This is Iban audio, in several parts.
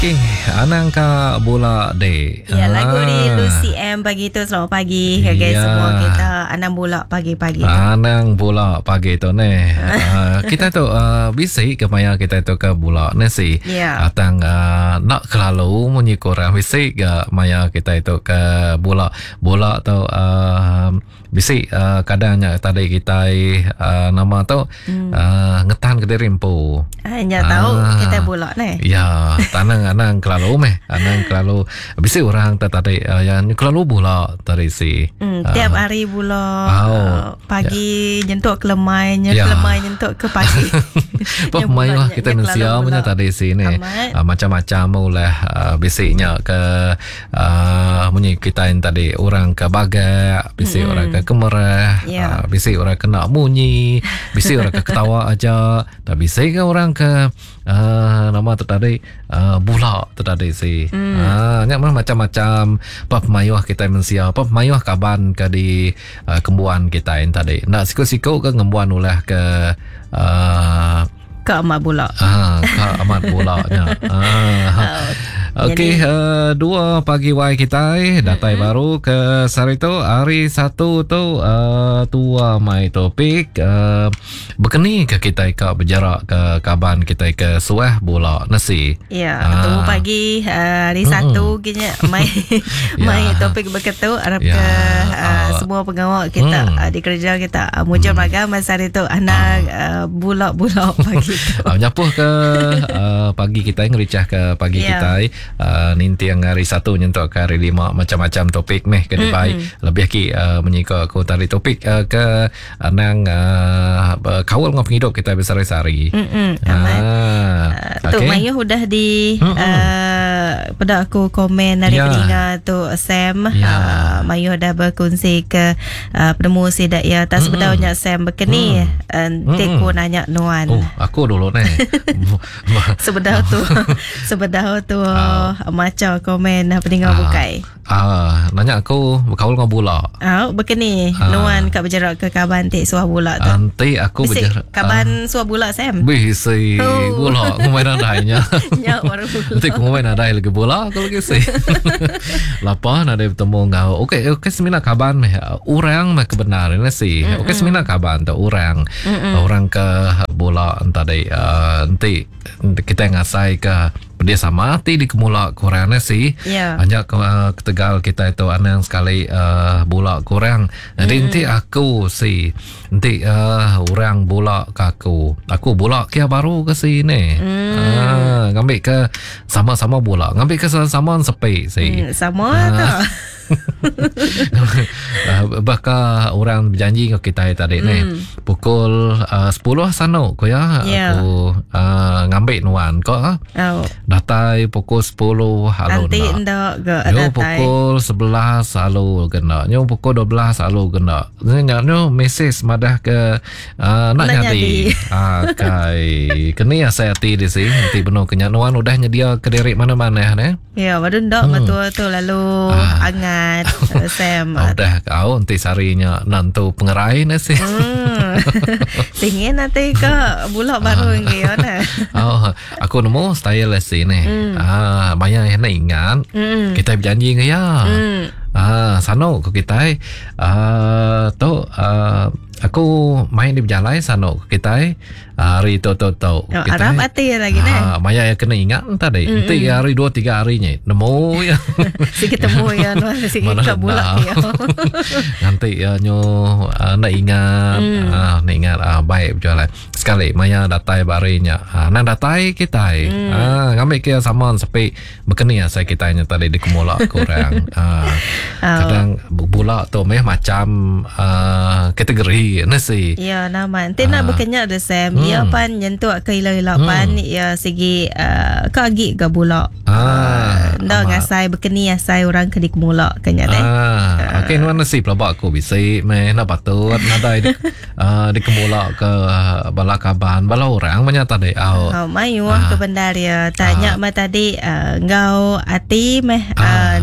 Okey, anang ka bula dek. Ya, lagu di Lucy M pagi tu. Selamat pagi okay, Ya. semua kita. Anang bula pagi-pagi. Anang bula pagi tu ni. Kita tu bisi ke maya kita tu ke bula ni si. Ya. Atang nak kelalu munyi kurang bisi ke maya kita itu ke bula. Bula tu bisi kadangnya tadi kita nama tu ngetan ke diri empu. Hanya tahu kita bula ni. Ya, tanang anang kelalu meh. Anang kelalu bisi orang tadi yang kelalu bula tadi si. Tiap hari bula. Pagi nyentuk ke lemai, lemai nyentuk ke pagi. Pah mayuh kita mensia punya tadi si ni. Macam-macam ulah bisinya ke munyi kita yang tadi orang ke bagak, bisi orang ke kemerah, bisi orang kena munyi, bisi orang ke ketawa aja, tak bisi ke orang ke nama tu tadi bula tu tadi si. Nyak macam-macam pah mayuh kita mensia, pah mayuh kaban ke di kembuan kita yang tadi. Nak siku-siku ke ngembuan ulah ke ke amat bula. Ke amat bulanya. Okey, 2 pagi wai kita datai baru ke sehari tu hari 1 tu tua mai topik berkeni ke kita ke berjarak ke kaban kita ke suah bula nasi. Ya, tu pagi hari 1 kini mai mai topik berketu harap ke semua pengawal kita di kerja kita mujur magang masa hari tu anak bulak-bulak pagi tu. Nyapuh ke pagi kita ngericah ke pagi kita nintiang hari 1 nyentuk ke hari 5 macam-macam topik meh ke dibai lebih ki menyika aku tadi topik ke nang kawal dengan penghidup kita besar-besari. Tu mayuh udah di pada aku komen dari pendengar tu Sam. Mayuh dah berkongsi ke penemu sidak ya tak sebetulnya Sam berkeni teku nanya nuan. Oh, aku dulu ni. Sebedau tu sebedau tu maca komen pendengar bukai. Nanya aku berkaul dengan bula. Berkeni nuan kat berjarak ke kaban tik suah bula tu. Nanti aku berjarak kaban suah bula Sam. Bisi bula aku main nadainya. Nyak baru bula. Nanti aku main nadai lagi bula aku lagi si. Lapa nadai bertemu ngau. Okey, okey semina kaban meh orang meh kebenaran si. Okey semina kaban tu orang. Orang ke bula tadi nanti kita ngasai ke dia sama hati di kemula kurang si. Hanya ketegal kita itu anang sekali bula kurang. Jadi nanti aku si nanti orang bula ke aku. Aku bula kia baru ke sini. Ngambil ke sama-sama bula. Ngambil ke sama-sama sepi si. Sama tu. Bahkan orang berjanji ke kita tadi ni pukul 10 sana ko ya aku ngambil nuan ko datai pukul 10 halu nanti ndak ke datai pukul 11 halu kena nyo pukul 12 halu kena nyo mesej madah ke nak nyadi kai kena saya hati di sini nanti benar kenya nuan udah nyedia ke diri mana-mana ne ya baru ndak betul tu lalu angat Sam. Udah kau nanti sarinya nantu pengerai nasi. Tingin nanti ke bulak baru ngi ona. Oh, aku nemu style si ni. Maya yang nak ingat. Kita berjanji ke ya. Sano ke kita tu aku main di berjalan sano ke kita hari tu tu tu. Oh, Arab hati lagi ni. Maya yang kena ingat tadi. Nanti hari 2 3 harinya nemu ya. Si ketemu ya nuan si kita bulak ya. Nanti ya nyo nak ingat nak ingat baik berjalan. Sekali maya datai barinya. Nang datai kita. Ngambil ke sama sepi berkeni saya kita nya tadi di kemulak kurang. Kadang bulak tu meh macam kategori nasi. Ya nama. Nanti nak berkenyak de Sam. Ya pan nyentuk ke ila-ila pan ya segi ke agi ke bulak. Ndak ngasai berkeni asai orang ke di kemulak kenya deh. Okey nuan nasi pelaba aku bisi meh enda patut nadai uh, dikemula ke bala kaban bala orang menya tadi au. Oh, mayuh uh, ke bendar ya. Tanya uh, mah tadi uh, enggau ati meh uh,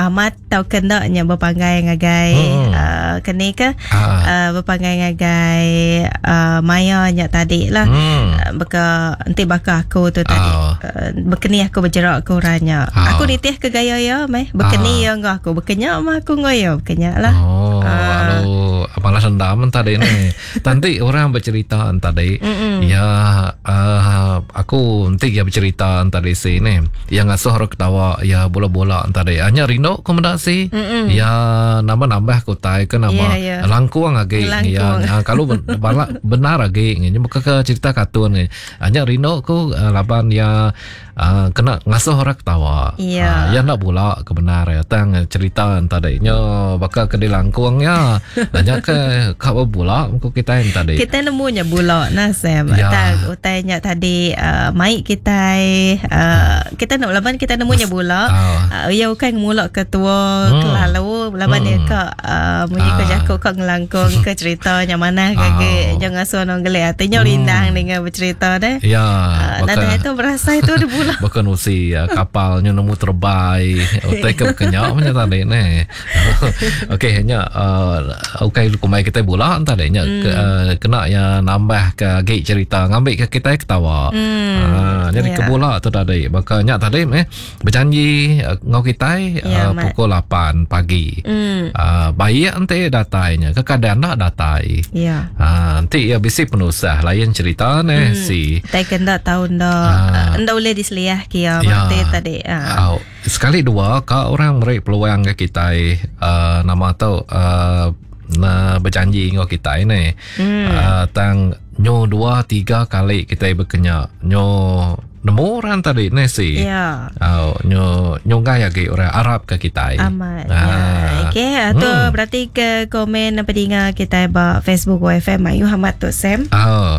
amat tau ke enda nya bepanggai ngagai hmm. uh, keni ke uh. Uh, bepanggai ngagai uh, maya nya tadi lah. Hmm. Uh, beka enti baka aku tu tadi. Uh. Uh, bekeni aku bejerak ke orang nya. Uh. Aku nitih ke gaya iya meh. Bekeni uh. iya enggau aku. Bekenya mah aku enggau iya. Bekenya lah. Oh, uh. lalu malah dendam tadi ni. Tanti orang bercerita tadi. Ya uh, aku enti ya bercerita tadi si ni. Yang ngasuh orang ketawa ya bola-bola tadi. Hanya rindu ku meda si. Mm-mm. Ya nambah-nambah ku tai ke nama yeah, yeah. langkuang agi. Ya uh, kalau balak benar agi ni bukan ke cerita kartun ni. Hanya rindu ku uh, laban ya Uh, kena ngasuh orang ketawa. Yeah. Uh, ya nak bula ke benar ya tang cerita tadi nyo baka ke dilangkung ya. Nanya ke ka bula ku kita yang tadi. Kita nemu nya bula nah Sam. Ya. Tang utai nya tadi uh, mai kita uh, kita nak laban kita nemu nya bula. Uh. Uh, ya bukan ngemula ke tua hmm. kelalu laban hmm. dia ka uh, munyi ke jaku ka ngelangkung ke cerita nya mana ke uh. Jangan ngasuh orang gelik ati nya hmm. rindang dengan bercerita deh. Ya. Uh, nadai tu berasai tu ada Bukan usi uh, kapal nya nemu terbai. Utai ke kenya macam tadi ni. Okey nya uh, okey kumai kita bula tadi nya hmm. ke, uh, kena ya nambah ke agi cerita ngambil ke kita ketawa. Hmm. Uh, jadi yeah. ke bula tu tadi. Baka nya tadi eh berjanji uh, ngau kita yeah, uh, pukul 8 pagi. Hmm. Uh, baik enti datainya kekadang nak datai. Ya. Yeah. Uh, enti ya bisi penusah lain cerita ne hmm. si. Tai kena tahu nda uh, nda boleh diseliah kia ya. tadi. Uh. Sekali dua ka orang meri peluang ke kita uh, nama tu uh, na berjanji ngau kita ni. Hmm. Uh, tang nyo dua tiga kali kita berkenya nyo nemu orang tadi ni si. Ya. Oh, nyo nyunggai lagi orang Arab ke kita. Amat. Ah. Ya. Okey, tu hmm. berarti ke komen pendengar kita ba Facebook WFM Ayu Hamad tu Sam. Oh.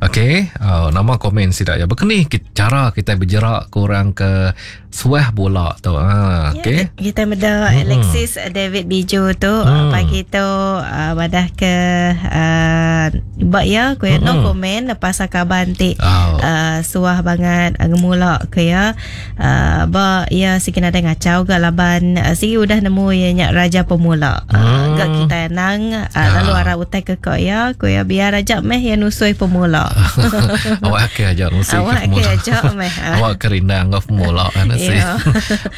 Okey, oh, nama komen sidak ya. Bekeni cara kita berjerak kurang ke suah bola tu. Ha, okey. Ya, kita meda Alexis David Biju tu hmm. pagi tu uh, badah ke uh, bak ya ku hmm. no komen pasal kaban ti oh. uh, suah banget uh, ngemula ke ya. Uh, ba ya sikit ada ngacau ga laban uh, sigi udah nemu ya nyak raja pemula. Uh, ga kita nang uh, lalu arah utai ke kok ya ku ya biar aja meh ya nusui pemula. Awak ke aja nusui awak ke aja meh. Awak kerindang ngau pemula kan sih.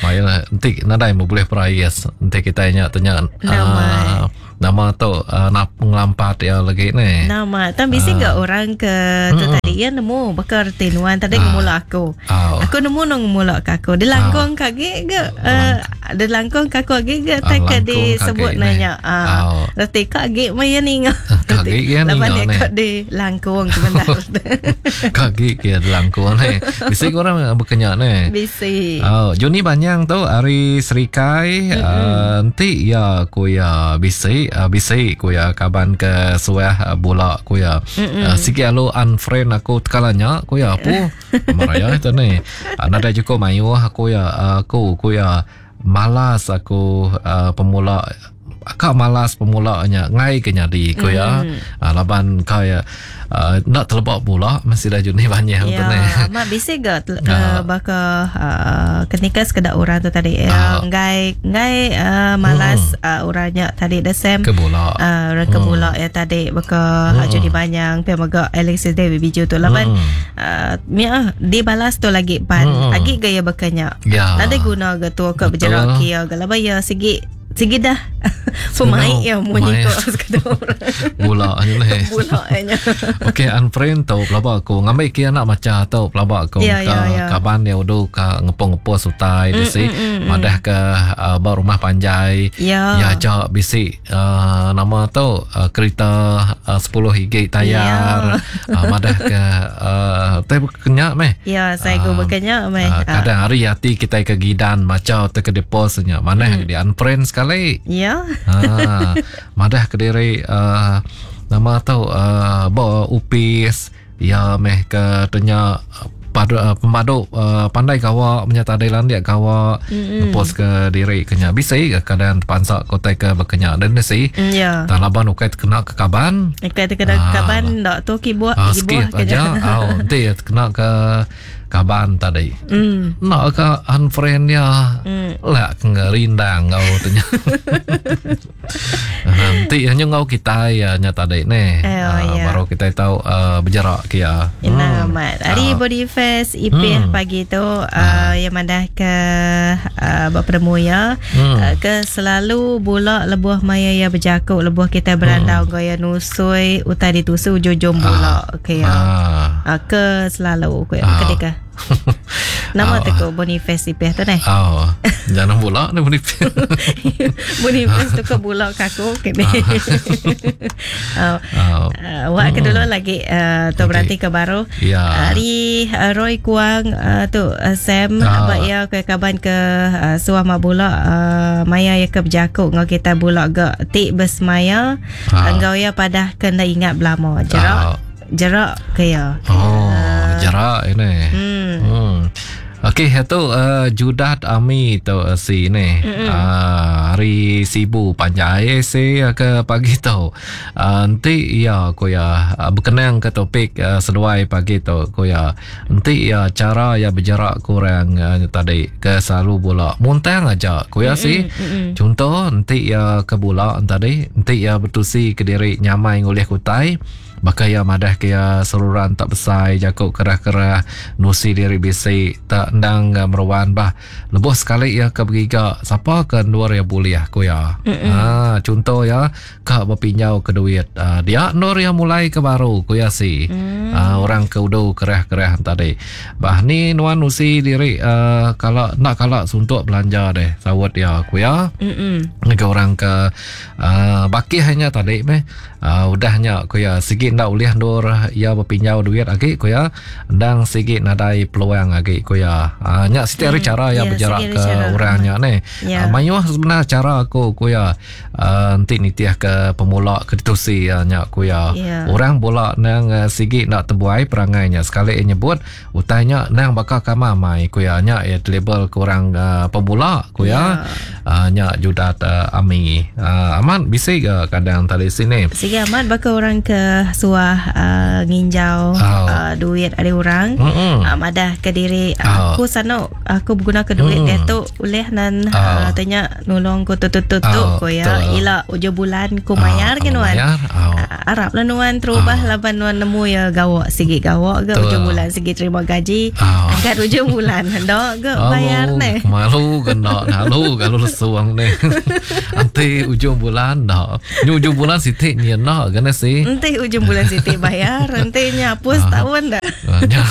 Mayalah nanti nadai mau boleh perais nanti kita nya tanya nama uh, nama tu uh, nak ngelampat ya lagi ni. Nama tam bisi uh, enggak orang ke tu tadi ya nemu bakar tinuan tadi uh, ngemula aku. Uh, aku nemu nang ngemula ke aku. Dilangkung uh, kage ge uh, dilangkung ke aku age ge tak ke disebut nanya. Uh, reti kage maya ninga. Kage ya ninga ni. Laban di langkung ke bendar. Kage ke dilangkung ni. Bisi orang berkenyak ni. Bisi. Oh, Juni Banyang tu hari Serikai nanti ya ku ya bisi bisi ku ya kaban ke suah bola ku ya uh, sikit lalu unfriend aku tekalanya ku ya apa maraya itu ni uh, nadai cukup mayu aku ya aku ku ya malas aku uh, pemula akak malas pemulanya ngai ke nyadi ku ya uh, laban kaya uh, nak telebak pula masih dah Juni Banyang ya, tu ni. Mak bisi ga uh, baka uh, ketika sekedak orang tu tadi uh, ngai ngai uh, malas uh, orangnya tadi the same ke bola uh, ke bola ya tadi baka hmm. Juni Banyang pe mega Alexis David Biju tu laban uh, mia dibalas tu lagi pan hmm. agi gaya bakanya. Ya. Nadai guna ga tu ke berjerak kia ga laban ya sigi sigi dah pemain ya munyi ko sekadar orang. Bola aja lah. Bola aja. Okey, unfriend tau pelaba aku. Ngambil kia nak baca tau pelaba aku. Ya, ya, ya. Kaban dia udu ka ngepung-ngepung sutai mm, bisi. Madah ke uh, ba rumah panjai. Ya. Ya aja bisi uh, nama tau uh, kereta uh, 10 gig tayar. Ya. Uh, madah ke uh, tai kenyak meh. Ya, saya uh, berkenyak meh. Uh, kadang hari hati kita ke gidan baca atau ke deposnya. Mana mm. di unfriend sekali. Ya. Ha, madah ke diri uh, nama tau uh, ba upis ya meh ke tanya padu, uh, pemadu uh, pandai gawa menyata tadi landik gawa mm-hmm. ngepost ke diri kenya bisi ke kadang terpansa ke utai ke bekenya dan si mm, yeah. tak laban ukai terkena ke kaban ukai terkena ke ah. kaban ndak tu kibuh uh, skip aja au nanti terkena ke kaban tadi mm. nak ke unfriend dia mm. lah ke ngerindang ngau tanya Nanti hanya ngau kita ya nya tadi ni. Eh, oh, uh, ya. Baru kita tahu uh, berjarak ke ya. Hmm. Amat. Hari uh. Body Fest IP hmm. pagi tu uh, uh. yang madah ke uh, berperemu ya. Hmm. Uh, ke selalu bulak lebuh maya ya berjakuk lebuh kita berandau hmm. gaya nusui utai ditusu ujung-ujung bulak uh. ke ya. Uh. Uh, ke selalu ke uh. ke Nama oh. tu Boniface Ipeh tu ni. Oh. Jangan bulak ni Boniface. Boniface tu ke bulak kaku ke ni. Oh. Oh. Uh, wak ke dulu lagi uh, tu okay. berarti ke baru. Ya. Hari uh, Roy Kuang uh, tu uh, Sam oh. abak ya ke kaban ke uh, suah mak bulak uh, maya ya ke berjakuk ngau kita bulak gak tik bersemaya oh. Enggau ya padah kena ingat belama jerak. Oh. Jerak ke ya. Oh, jerak ini. Hmm. hmm. Okey, itu uh, Judat Ami tu uh, si ni. Uh, hari Sibu panjai si ke pagi tu. Uh, nanti ya ku ya uh, berkenang ke topik uh, seduai pagi tu ku ya. Nanti ya cara ya berjarak kurang uh, tadi ke selalu bola. Muntang aja ku ya si. Contoh nanti ya ke bola tadi, nanti ya bertusi ke diri nyamai ngulih kutai. Baka ya madah ke ya seruran tak besai jakuk kerah-kerah nusi diri bisi tak endang meruan bah lebuh sekali ya ke beriga siapa ke luar ya boleh ku ya. Ha contoh ya ka berpinjau ke duit ha, dia nur ya mulai ke baru ku ya si. Mm. Ha, orang ke udu kerah-kerah tadi. Bah ni nuan nusi diri uh, kalau nak kalau suntuk belanja deh sawat ya ku ya. Ke orang ke uh, baki hanya tadi meh uh, udahnya ku ya segi ndak ulih ndur ya berpinjau duit agi ku ya ndang sigi nadai peluang agi ku ya. Uh, nya setiap hari cara ya, ya berjarak ke orangnya ni. Ya. Uh, mayuh sebenar cara aku ku ya uh, nanti nitiah ke pemula ke ditusi ya nya ku ya. Ya. Orang bola nang uh, sigi nak terbuai perangainya sekali nyebut utainya nang bakal kamamai ku ya nya ya label ke orang uh, pemula ku ya. Ya. Uh, nya judat uh, ami. Uh, aman bisi ke kadang tadi sini. Sigi aman bakal orang ke suah uh, nginjau Oh. uh, duit ada orang Mm-mm. uh, madah ke diri Oh. aku sano aku berguna ke duit Mm. dia tu ulih nan Oh. uh, tanya nolong ku tu tu tu tu Oh, ku ya betul. ila ujung bulan ku mayar ke nuan Bayar. Oh. Uh, Arab lah nuan terubah Oh. laban nuan nemu ya gawak sigi gawak ke Betul. ujung bulan sigi terima gaji Oh. angkat ujung bulan dok ke bayar ne Malu kena halu kalau lesuang ni. Nanti ujung bulan dah. Ni ujung bulan sitik ni nak kena si. Nanti ujung bulan siti bayar nanti nyapus Ah. tahun dah Ya.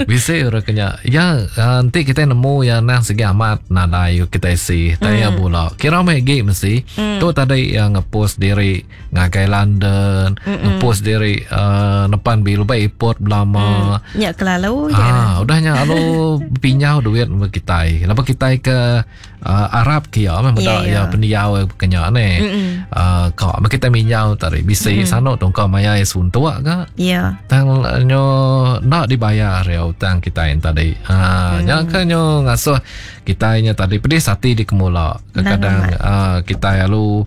Bisa orang kena. Ya nanti kita nemu yang nang segi amat nadai kita si. Tanya bola. Kira mai gi mesti. Tu tadi yang ngepost diri ngagai London, ngepost diri uh, nepan bilu baik airport belama. Nyak kelalu je Ah, udahnya alu pinjau duit sama kita. Kenapa kita ke uh, Arab ke ya memang Ya, dak ya. ya pendiau kenya ni. Uh, kau uh, kita minjau tadi bisi sano tong kau maya suntuk ke. Ya Tang nyo nak dibayar ya utang kita yang tadi. Ha, nya ke nyo ngasuh kita nya tadi pedih hati di kemula. Kadang-kadang uh, kita lalu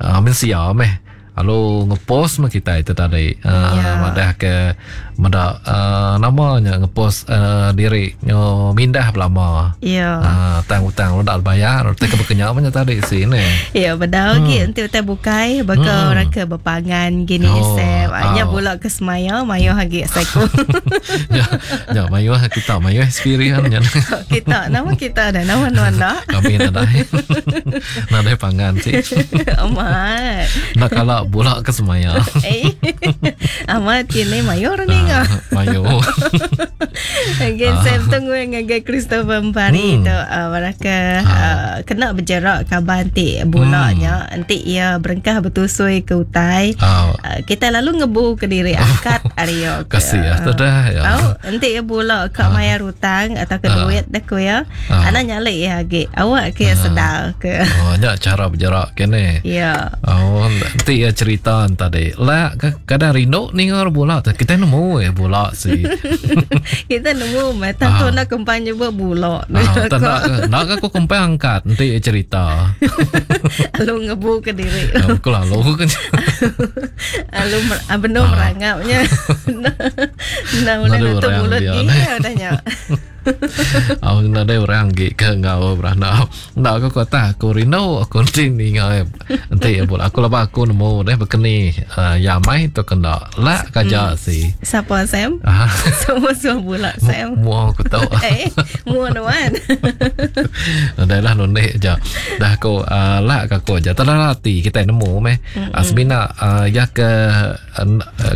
uh, mensia meh. Lalu ngepost mah kita itu tadi. Uh, Ya. Madah ke madah uh, namanya ngepost uh, diri nyo mindah belama. Ya Ah, utang-utang lu dak bayar, tak keberkenyang punya tadi sini. Ya, bedau hmm. nanti utai bukai bakal Hmm. orang ke berpangan gini Oh, Sam. Anya oh. bulak ke semaya mayo hagi saku. Ya, ya mayu kita mayu experience nya. kita nama kita ada nama nuan dah. Kami nadai. nadai pangan sih. Amat. Nak kalau bulak ke semaya. Eh. Amat kini mayor ni ngah. Ah, Mayu. Again, Sam tunggu yang ngagai Christopher Empari Hmm. tu uh, mereka uh, kena berjerak kaban ti bulaknya nanti ia berengkah bertusui ke utai. Ah, Uh, kita lalu ngebu ke diri angkat Aryo ke. kasih ya, tu dah ya. Tahu nanti ya bulak kat mayar hutang atau ke Ah. duit dah ku ya. Ah. Anak nyalik ya agi. Awak ke sedar ke. Oh, nya cara berjarak kene. Ya. Oh, nanti ya cerita tadi. Lah kadang rindu ni ngor bola tu. Kita nemu nemu ya bula si. Kita nemu meh tang tu enda kempang nyebut bula. Ah, tak nak nak aku kempang angkat enti cerita. Lalu ngebu ke diri. Aku lalu kan. Lalu benung merangapnya. Enda ulih nutup mulut iya udah nya. Au nadai orang agi ke enggau beranak. Enda aku kata aku rindu aku enti ninga enti bula aku laban aku nemu deh bekeni uh, ya mai tu kena lak kaja hmm. si. Sapa Sam? Ah. Semua suah bula Sam. Mua aku tahu. eh, mua nuan. Nadai lah nundek je. Dah aku uh, lak aku aja. Tak ati kita nemu meh. Uh, semina uh, ya ke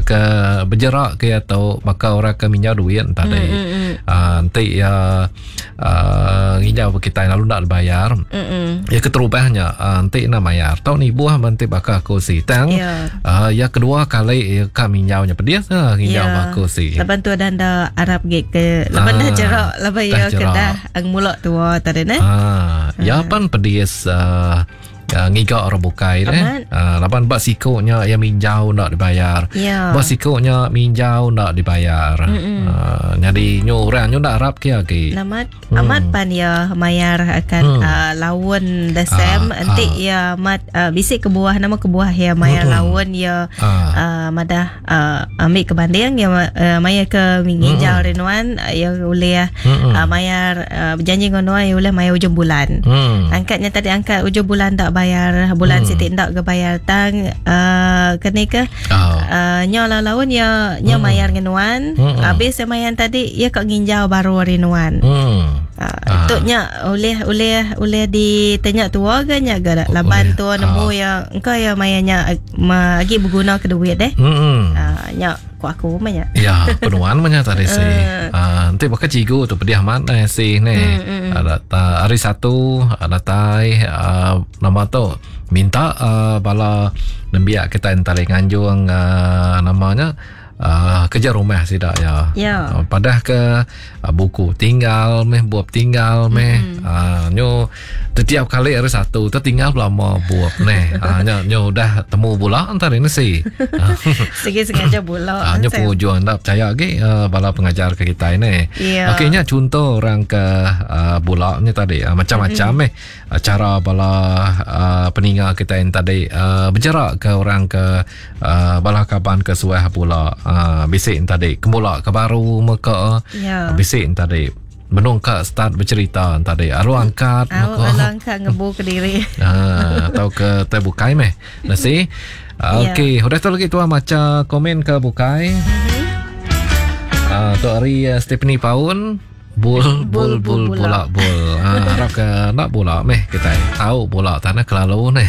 ke bejerak ke iya tu baka orang ke minjau duit tadi. Mm, mm, mm. Uh, enti iya uh, nginjau ke kitai lalu enda dibayar. Mm, mm. Ya keterubahnya uh, enti enda mayar. Tau nibuh enti baka aku si tang. Yeah. Uh, ya kedua kali ya ka minjau nya pedis uh, nginjau yeah. aku si. Laban tu ada anda arap ge ke laban dah jerak laban ya ke dah ang mulak tua tadi ne. Ah, ya pan pedis uh, ngiga orang bukai deh. Uh, laban ba siku nya yang minjau nak dibayar. Yeah. Ba siku nya minjau nak dibayar. Uh, jadi nyu orang nyu ndak arap ke agi. Amat hmm. amat pan ya mayar akan hmm. uh, laun the same uh, enti uh. ya amat uh, bisi kebuah nama kebuah ya mayar hmm. laun ya uh. Uh, madah uh, ambil ke banding ya uh, mayar ke nginjau hmm. renuan ya ulih hmm. uh, mayar uh, berjanji dengan nuan ya ulih mayar ujung bulan. Hmm. Angkatnya tadi angkat ujung bulan tak bayar bulan hmm. siti ndak ke bayar tang uh, kene ke oh. uh, nya laun ya nya hmm. mayar dengan nuan hmm. Habis ya mayar tadi ya kak nginjau baru hari nuan. Hmm. Uh, tu nya oleh oleh oleh ditanya tua ke nya ga laban tua nemu uh. ya engkau ya mayarnya agi berguna ke duit deh. Hmm. Uh, nya ku aku mah nya. Ya, penuan mah nya tadi si. Uh, nanti bakal cikgu tu pedih amat eh si ni. Mm, mm. Hari Satu datai uh, nama tu minta uh, bala nembiak kita entari nganjung uh, namanya uh, kerja rumah sida ya. Ya. Uh, padah ke uh, buku tinggal meh buap tinggal meh. Mm. Uh, nyo setiap kali hari Satu tu tinggal lama buap neh. Uh, nyo nyo udah temu bula antar ini si. Segi sengaja bula. Uh, nyo penghujung ndak percaya lagi uh, bala pengajar ke kita ini. Yeah. Okey nya contoh orang ke uh, bula ni tadi uh, macam-macam mm. meh uh, cara bala uh, peninga kita yang tadi uh, berjarak ke orang ke uh, bala kaban ke suah pula uh, bisik tadi kemula ke baru meka yeah. Bisik tadi menungka start bercerita tadi alu angkat meka alu angkat ngebu ke diri uh, atau ke teh bukai meh nasi. Okey, yeah. Udah tu lagi tuan maca komen ke bukai. Mm-hmm. Uh, tu hari uh, Stephanie Paun bul bul bul bola bul. Ha, harap ke nak bola meh kita. Tahu bola tanah kelalu ni.